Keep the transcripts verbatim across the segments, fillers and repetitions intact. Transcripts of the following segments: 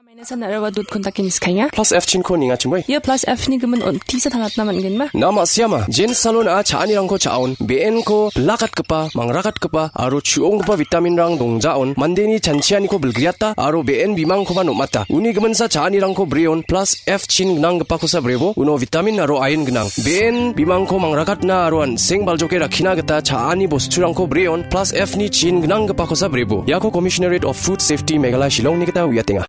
Maina san araba dot kontake niskaenga. Plus F chinko nengachimoi. Ia plus F ni gimin on tisa tangatna man·genma. Na ma·siama, Jane Salon-a cha·anirangko cha·on, be·enko bilakatgipa, mangrakatgipa, aro chu·onggipa vitaminrang dongjaon, mandeni chanchianiko bilgriata, aro be·en bimangkoba nom·ata. Uni giminsa cha·anirangko brion, plus F chin gnanggipakosa brebo, uno vitamin aro iron gnang. Be·en bimangko mangrakatna aro an·seng baljoke rakkina gita cha·ani bosturangko brion, plus F ni chin gnanggipakosa brebo. Iako Commissionerate of Food Safety Meghalaya Shillongni gita uiatenga.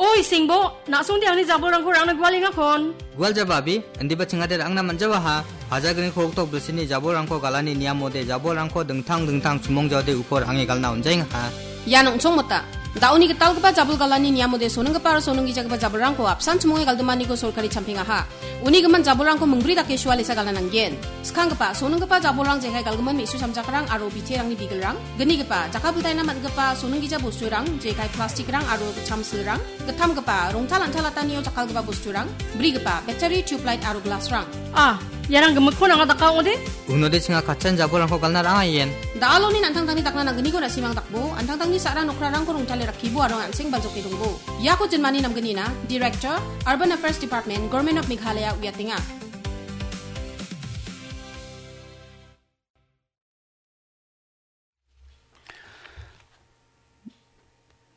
Oi, Singbo, na·songde angni jabolrangko rangna gualengakon. Gualjaba abi, indiba chingade ra·angna man·jawaha. Pajagriko oktok bilsini jabolrangko galani niamode jabolrangko dingtang dingtang chumongjaode uko ra·ange galna on·jaengaha. Ian ong·chongmota. Da·oni gitalgipa jabol galani niamode sonenggipa aro sonenggijagipa jabolrangko apsan chumonge galdimaniko sorkari champengaha. Uni gimin jabolrangko mingbri dake sualesa galna nanggen. Skanggipa, sonenggipa jabolrang jekai galgimin me·su samjakrang aro biterangni bigilrang. Gnigipa, jakkalbiltaina man·gipa sonenggija bosturang, jekai plastikrang aro gitcham silrang. Gittamgipa, rongtal antalatanio jakkalgipa bosturang. Brigipa, battery, tubelight aro glassrang. Ah, iarang gimikkon anga daka ong·ode? Unode chinga katchan jabolrangko galna ra·angaien. Da·aloni an·tangtangni dakna nanggniko na·simang dakbo, an·tangtangni sa·ra nokrarangko rongtale rakkibo aro an·seng baljoke dongbo. Iako jinmani namgnina, Director, Urban Affairs Department, Government of Meghalaya uiatenga.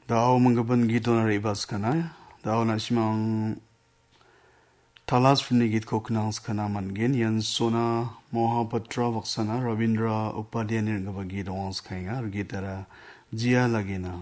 Da·o minggipa gitona re·baskana. Da·o na·simang Talas filmni gitko knangskana man·gen. Ian Sona Mohapatra baksana Rabindra Upadhyayni ring·gipa git ong·a skaenga. Aro gitara Jia Lagina.